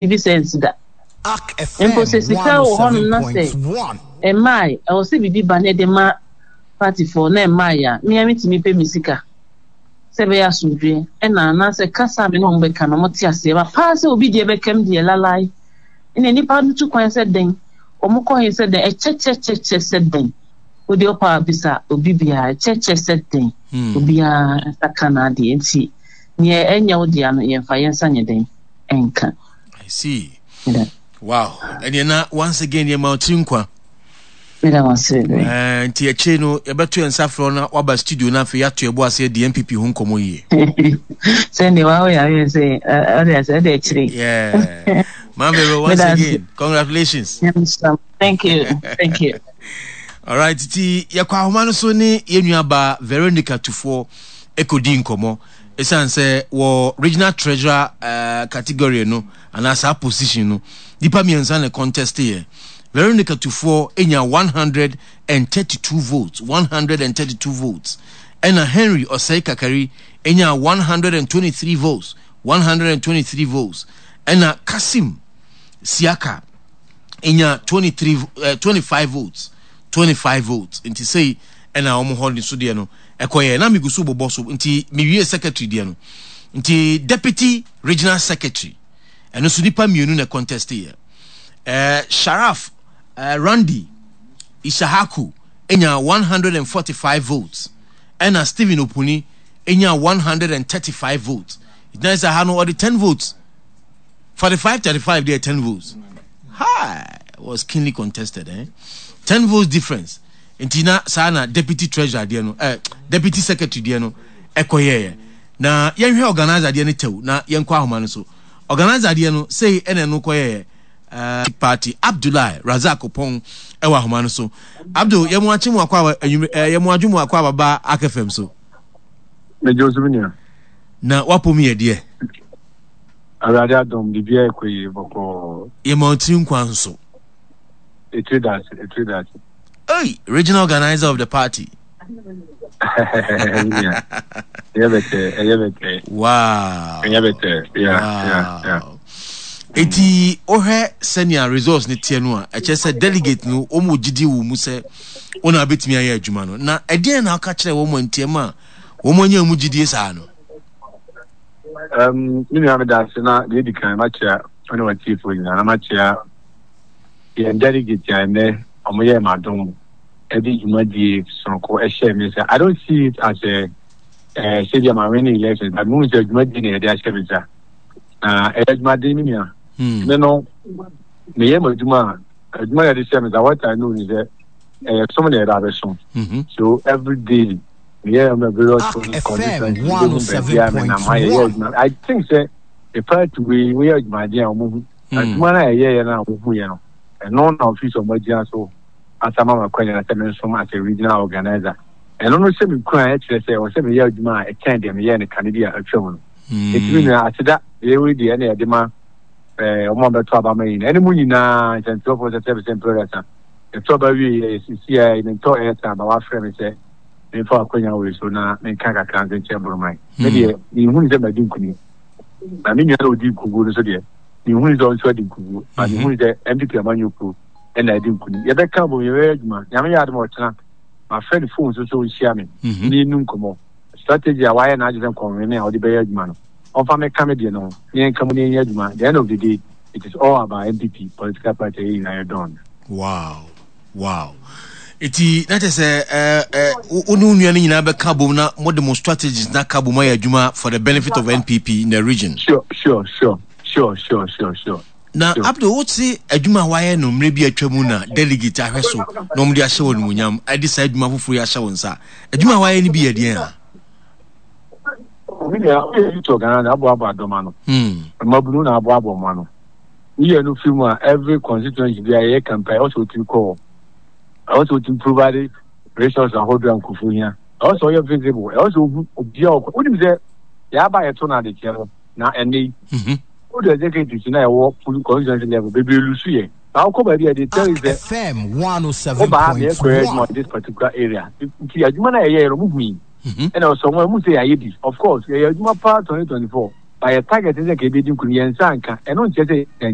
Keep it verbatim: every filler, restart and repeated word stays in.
Biribi sɛ nsi da. Mpo sɛ sika wɔ hɔnom na sɛ ɛmmae, ɛwɔ sɛ biribi ba na ɛde ma partyfoɔ na ɛmmae a, me ara metumi pɛ me sika sɛ ɛbɛyɛ asomdwoeɛ ɛna anaasɛ kasa a me ne wɔn bɛka no wɔte aseɛ. Ba paa sɛ obi deɛ bɛkam deɛ lalae ɛna nnipa no tu kwan sɛ dɛn, wɔn kɔ he sɛ dɛn, ɛkyɛkyɛkyɛkyɛ sɛ dɛn. Wode ɔpa a bisa obi biara, ɛkyɛkyɛ sɛ dɛn, obiara nsa ka n'adeɛ nti neɛ ɛnyɛ wo dea no yɛmfa yɛn nsa nyɛ dɛn ɛnka. I see. Wow. Ɛneɛ na once again yɛma wo tiri nkwa. Meda wo ase bebree. Eh, nti akyire no yɛbɛto yɛn nsa frɛ na waba studio no afei yɛato yɛbo ase adi N P P ho nkɔmmɔ yie. Sɛnde wa woyɛ ayɛ sɛ ɔde asɛ ɛde akyire. Yeah. Mamero, once again, congratulations. Thank you. Thank you. All right, ti yɛkɔ ahoma no so ne yɛn nuaba Veronica Tufoɔ ɛkɔdi nkɔmmɔ ɛsiane sɛ wɔ regional treasurer uh, category no anaa saa position no, nipa mmiɛnsa na contest yɛ. Veronica Tufoɔ enya one hundred and thirty-two votes, one hundred and thirty-two votes, ɛna Henry Ɔsɛe Kakari enya one hundred and twenty-three votes, one hundred and twenty-three votes, ɛna Kasim Siaka enya twenty-three uh, twenty-five votes, twenty-five votes. Nti sei ɛna wɔn hɔ ne so deɛ no ɛkɔyɛ na megu so bobɔ so. Nti mewie secretary deɛ no, nti deputy regional secretary ɛno nso nipa mmienu na contest yɛ. ɛɛ Sharaf ɛɛ Randy Ishahaku enya one hundred and forty-five votes, ɛna Stephen Opuni enya one hundred and thirty-five votes. Ìtàn sɛ ha no ɔde ten votes, forty-five thirty-five deɛ, ten votes hi was keenly contested, eh? ten votes difference. Nti na saa na deputy treasurer deɛ no, eh, deputy secretary deɛ no ɛkɔyɛɛ. Na yɛnhwɛ organizer deɛ no tɛw na yɛnkɔ ahoma no so. Organizer deɛ no sei ɛna ɛno kɔyɛɛ. uh, party Abdullahi Razak Opɔn ɛwɔ ahoma no so. Abdul, yɛmu akye mu akɔ aba enyim ɛɛ yɛmu adwo mu akɔ ababa akɛfɛm so. Megye wo so, me nua. Na wapɔ mu yɛ deɛ? Awurade adom, biribiara ɛkɔ yie bɔkɔɔ. Yɛma ɔtiri nkwa nso. Ɛtiri da ase, ɛtiri da ase. Hey, regional organizer of the party. Ɛyɛ bɛtɛ, ɛyɛ bɛtɛ. Wow. Ɛyɛ bɛtɛ, yeah, yeah, yeah. Eti wohwɛ sɛnea results ne teɛ no a, ɛkyerɛ sɛ delegate no wɔn wɔ gyidie wɔ mu sɛ wɔn a bɛtumi ayɛ adwuma no. Na ɛdeɛn na aka kyerɛ wɔn ntiam a wɔn anya mu gyidie saa no? Um, me nua, meda ase. Na deɛ ɛdi kan, makyea ɔne watiefoɔ nyinaa na makyea yɛn delegate a ɛnnɛ ɔmo yɛɛ m'adom ɛde dwumadie sononko ɛhyɛ me nsa. I don't see it as a uh, sɛdeɛ ma win election, but mehu sɛ dwumadie na yɛde ahyɛ me nsa na ɛyɛ adwumaden, me nua. Hmm. Me no meyɛ m'adwuma a adwuma yɛde hyɛ me nsa, what I know ni sɛ ɛyɛ som na yɛde abɛsom. Mhm. So every day meyɛ my various constituency, wobɛhu baabi a menam ha yɛyɛ adwuma. I think sɛ the party wei woyɛ adwumaden a wɔn hu adwuma no a yɛyɛyɛ no a wɔhu yɛ no, ɛno na office ɔmo agyina so asama ma kwanya sɛ mensom as a regional organizer. Ɛno no hyɛ me kura ɛkyerɛ sɛ ɛwɔ sɛ meyɛ adwuma a ɛkyɛn deɛ meyɛɛ no kane bi a atwa mu no. Ɛtumi nua aseda deɛ wei deɛ ɛna yɛde ma ɛɛ ɔmo a bɛtɔ aba ma yi na ɛne mu nyinaa nsɛntwerɛfoɔ sɛ sɛbi sɛ mpɛrɛsa yɛtɔ aba wie yɛ sisi a mentɔ ɛyɛ aba wafrɛ me sɛ memfa akwanya wei so na menka kakra nso nkyerɛ Boroman. Me deɛ menhunu sɛ madi nkonim, na me nua na ɔdi nkuguo no so deɛ, menhunu sɛ ɔnso adi nkuguo, ba mehunu sɛ N P P amanyɔkuo ɛna adi nkonim. Yɛbɛka bom, yɛbɛyɛ adwuma. Nyame yɛ adom a ɔkyena mafrɛ ne phone so sɛ ɔnhyia me Mhm. ne yɛnu nkɔmmɔ. Strategy a wayɛ n'agye sɛ nkɔnwene a ɔde bɛyɛ adwuma no, ɔmfa meka me deɛ no ho ne yɛnka mu ne yɛnyɛ adwuma. The end of the day, it is all about N P P political party a yɛn nyinaa yɛ dɔn. wow wow eti na kyerɛ sɛ ɛɛ ɛ wo ne wo nua no nyinaa bɛka bom na mode mo strategies na ka bom ayɛ adwuma for the benefit of N P P in the region. sure sure sure sure sure sure sure Na Sure. Abdul, wote adwuma a wayɛ no mmerɛ bi atwa mu na delegate ahwɛ so na wɔde ahyɛ wɔ animuonyam ɛde saa adwuma foforɔ yi ahyɛ wo nsa. Adwuma a wayɛ no bi yɛ deɛn a? Me nua, woyɛ youth organizer, aboaboa dɔm ano, Hmm. mmabunu na aboaboa ɔmo ano. Woyɛ no firi mu a, every constituency bi a yɛyɛ campaign, ɛwɔ sɛ wotumi kɔ hɔ, ɛwɔ sɛ wotumi provide resource ahodoɔ a nkurɔfoɔ hia, ɛwɔ sɛ ɔyɛ visible, ɛwɔ sɛ ohu obiara ɔkɔ. Wonim sɛ yɛaba yɛto no adekyɛ no na ɛnɛ yi Mhm. wode executives na ɛwɔ full constituency level bebree lusu yɛ na wokɔ baabi a they tell you sɛ F M woba ha na yɛkɔyɛ adwuma one oh seven point one. this particular area. Nti adwuma no a yɛyɛ no, muhu yi Mhm. ɛna ɔsɔ wɔn mu sɛ yɛayɛ bi. Of course yɛyɛ adwuma paa twenty twenty-four. But yɛ target sɛ ka yɛbɛdi nkunim, yɛn nsa nka. Ɛno nkyerɛ sɛ yɛnyɛ.